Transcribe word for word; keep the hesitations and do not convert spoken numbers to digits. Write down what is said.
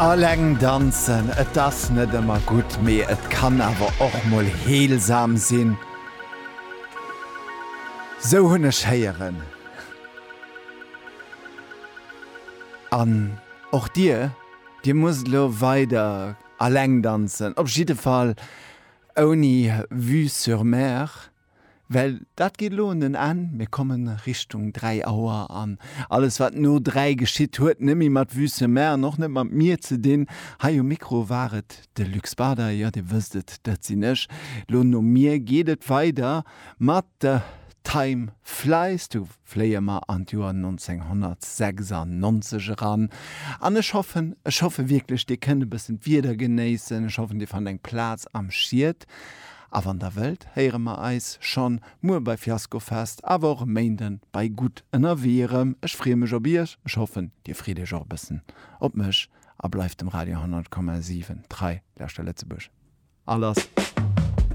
Alleng danzen, et ass net ëmmer gutt, mee et kann awer och mol heelsam sinn. Sou hunn ech héieren. An och dir, dir musst elo weider alleng danzen, op jidde Fall ouni Vue sur Mer. Well dat geet elo un en Enn, mir komme Richtung dräi Auer an alles wat no dräi geschitt huet net méi mat Vue sur Mer an och net mat mir ze dinn. Hei um Mikro war et de Luc Spader, jo dir wësst et, dat sinn ech. Elo no mir geet et weider mat Time Flies, do fléie mer an d'Joer nonzénghonnertsechsannonzeg eran an ech hoffen, ech hoffe wierklech dir kënnt e bëssen d'Wieder genéissen, ech hoffen dir fannt eng Plaz am Schied. A wann der wëllt, héiere mer eis schonn muer bei Fiaskofest, awer och e Méinden bei Gutt ënnerwee erëm. Ech freeë mech op iech, ech hoffen, dir freet iech och e bëssen op mech a bleift dem Radio honnert Komma siwen trei. Lauschter Lëtzebuerg, a lass!